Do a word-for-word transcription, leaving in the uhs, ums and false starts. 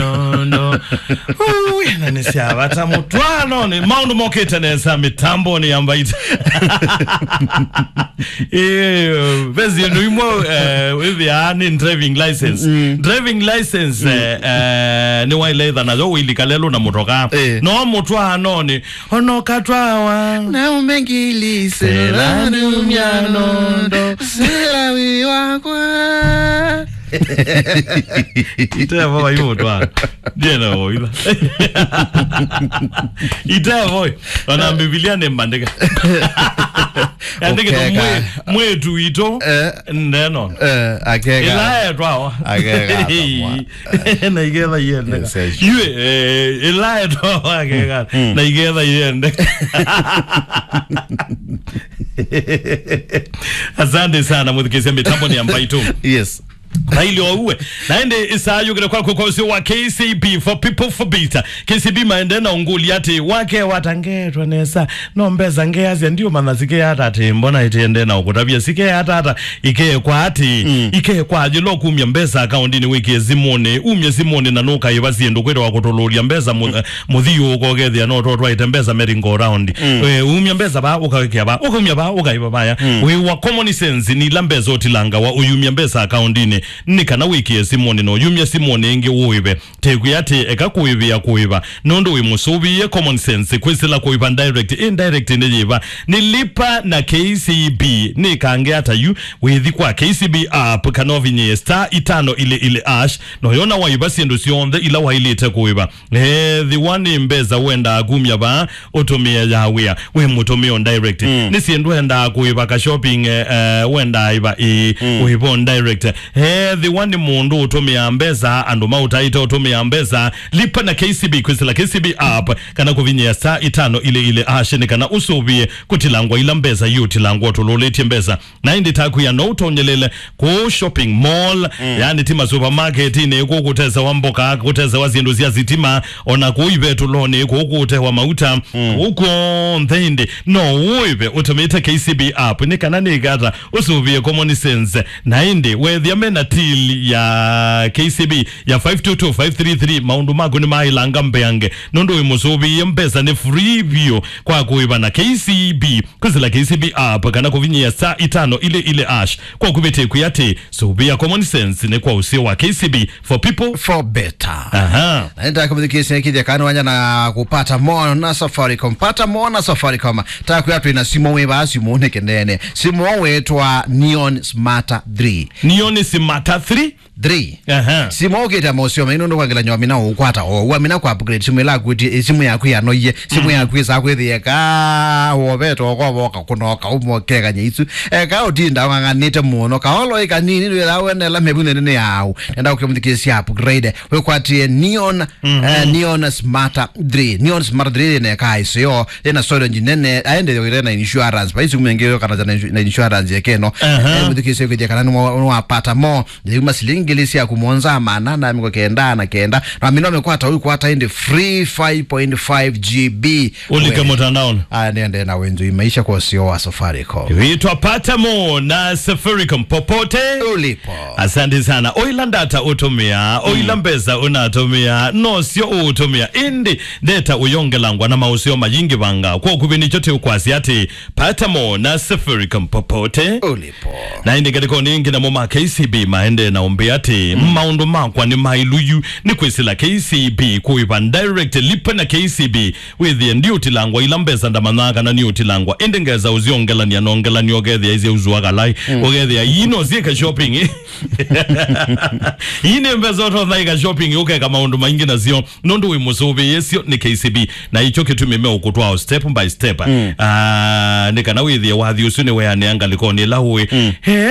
No, no. Ui, na nĩ sya vata mũtwaanonĩ. Maũndũ mokĩte nesa mĩtambonĩ ya Mbaitũ. Eh, vesi ĩndũ imwe, eh, wĩthĩaa nĩ driving license. Mm. Driving license, eh, eh, nĩ waĩle ĩtha nayo ũilika lelũ na mũtoka. Eh. No mũtwaanonĩ, ona ũkatwawa. Na ũmengili sela nĩ myano ndo, sela wĩ wakwa. Itevo waimũtwa. Ndiena voitha. Itevo. Ona Mbivilia nĩ mbandĩka. Yandĩkĩtwe ũkeka. Mwĩ-, mwĩtu witũ. Eh. Neno. Eh, akeka. Ĩla etwawa. Akeka akamwa. Na igetha iendeka. Yes, yes. Yue, eh, ĩla etwawa akeka. Mm. Na igetha iendeka. Asante sana, mũthikĩsya mĩtambo nĩ ya Mbaitũ. Yes. Raili oue. Na ĩndĩ ĩsaa yũkĩte kwaku kwa ũsĩ wa K C B, for people, for better. K C B maende na ũngũli atĩ wake watangetwa nesa. No mbesa ngeasya ndiũmanya sikeata atĩ mbona ĩtiende na ũkũtavya sikeata ata ikekwa atĩ. Mm. Ikekwa ajĩlo kumya mbesa akaundinĩ wĩkie simũnĩ. Umye simũnĩ na nũkaĩva syĩndũ kwĩtawa kũtũlũlya mbesa mu-, mũthiũũko ũkethĩa no totwaĩte mbesa merry go round. Mm. Eh, umya mbesa vaa, ũkawĩkĩa vaa, ũkaumya vaa, ũkaĩva vaya. Mm. Wĩ wa common sense, nĩ ila mbesa ũtilangawa, ũyumya mbesa akaundinĩ, nĩ kana wĩkĩe simũnĩ, na ũyumya simũnĩ ĩngĩ ũĩve. Tekwĩa atĩ eka kũĩvĩa kũĩva, nũndũ wĩ mũsũvĩe common sense, kwĩsĩla kũĩva direct. Indirect nĩ yĩva? Nĩ Lipa na K C B. Nĩ kange ata yu, wĩthi kwa K C B app, kana ũvinyĩe star itano ile ile hash, na ũyona waĩva syĩndũ syonthe ila waĩlĩte kũĩva. Ethĩwa nĩ mbesa wendaa kumya vaa, ũtũmĩe ya wĩa, wĩ mũtũmĩo direct. Mm. Nĩ syĩndũ wendaa kũĩva ka shopping, eh, eh, wendaa ĩva ĩ, mm, ũĩva on direct. Ethĩwa nĩ mũndũ ũtũmĩaa mbesa, andũ maũtaĩte ũtũmĩaa mbesa, Lipa na K C B, kwĩsĩla K C B app, kana kũvinyĩa star itano ile ile hash nĩ kana ũsũvĩe kũtilangwa ila mbesa iũtilangwa ũtũlũlĩtye mbesa. Na ĩndĩ takwĩa no ũtonyelele kũũ shopping mall, mm, yani ti masupermarketinĩ, kũũ kũtesewa mboka, kũtesewa syĩndũ sya sitima, ona kũũ ivetũlonĩ, kũũ kũũtewa mauta, mm, kũũ kw'onthe ĩndĩ no ũĩve ũtũmĩte K C B app, nĩ kana nĩ kata ũsũvĩe common sense. Na ĩndĩ wethĩa mena till ya K C B ya five two two five three three, maũndũ maku nĩ maĩlanga mbeange, nũndũ wĩ mũsũvĩe mbesa nĩ free vyũ kwa kũĩva na K C B. Kwĩsĩla K C B app kana kũvinyĩa star itano ile ile hash kwa kũvĩtĩkwĩa atĩ sũvĩa common sense nĩ kwa ũseo wa K C B, for people, for better. Aha. Na nĩndakamũthikĩsya kĩthya kana wanya na kupata more na Safaricom. Pata more na Safaricom. Takwĩa twĩ na simũ wĩ vaa simũ nĩ kĩnene. Simũ wĩtwa Neon Smarter three. Neon Smarter three? Three. Aha. Simũ ũkĩte mosio maino ndo kwangela nywa mina ũkwata o. Wa mina kwa upgrade simũ ila kuti, simũ yaku yanoie. Simũ, mhm, yaku isa kwĩthĩa ka woveto kwa woka kunoka umokega nyaisu. Eka ũtinda wang'ang'anĩte mũno. Kaolo ĩkanini ndwĩra wenela mĩvunde nene yao. Nenda ũkĩmũthikĩsya upgrade. Wĩkwatie Neon, mhm, eh, Neon Smarter three. Neon Smarter three neka isio. Ĩna storage nene. Aende na insurance. Paisi kumengeo kana na insu-, na insurance yekeno. Aha. Eh, mũthikĩsya kwĩthĩa kana nwa-, nwapata mo. Yuma silingi ngili syaku mũonza maana na mĩongo kenda na kenda. Na mino mekwata ũikwata ĩndĩ free five point five G B. Ũlike mũtandaoni. Aya, nĩende na wenzi maisha kwa ũseo wa Safaricom. Wĩtwa Pata Mo na Safaricom popote ulipo. Asante sana. Oila ndata ũtũmĩa, oila, mm, mbesa ũnatũmĩa, nosyo ũtũmĩa. Ĩndĩ ndeta ũyongelangwa na maũseo mayingĩ vanga. Kwa ũkuvĩ nĩkyo tĩũkwasya atĩ Pata Mo na Safaricom popote ulipo. Na ĩndĩ ngalĩkonĩ ĩngĩ namo ma K C B maendee na ũmbĩa atĩ, mm, maũndũ makwa nĩ maĩlu yu nĩ kwĩsĩla K C B kũĩva direct, Lipa na K C B. Wĩthĩe ndiũtilangwa ila mbesa ndamanyaa kana niũtilangwa. Ĩndĩ ngesa ũsyongelania na ongelania ũkethĩa isye ũsua kalai. Mm. Ũkethĩa ii no syĩka shopping. Ii nĩ mbesa ũtonya ĩka shopping ũkeka maũndũ maingĩ nasyo. Nũndũ wĩ mũsũvĩĩsyo nĩ K C B, na ikyo kĩtumi meũkũtwaa step by step. Mm. Ah, nĩ kana wĩthĩe wathi ũsu nĩweanĩa ngalĩkonĩ ĩla ũĩ. Mm. He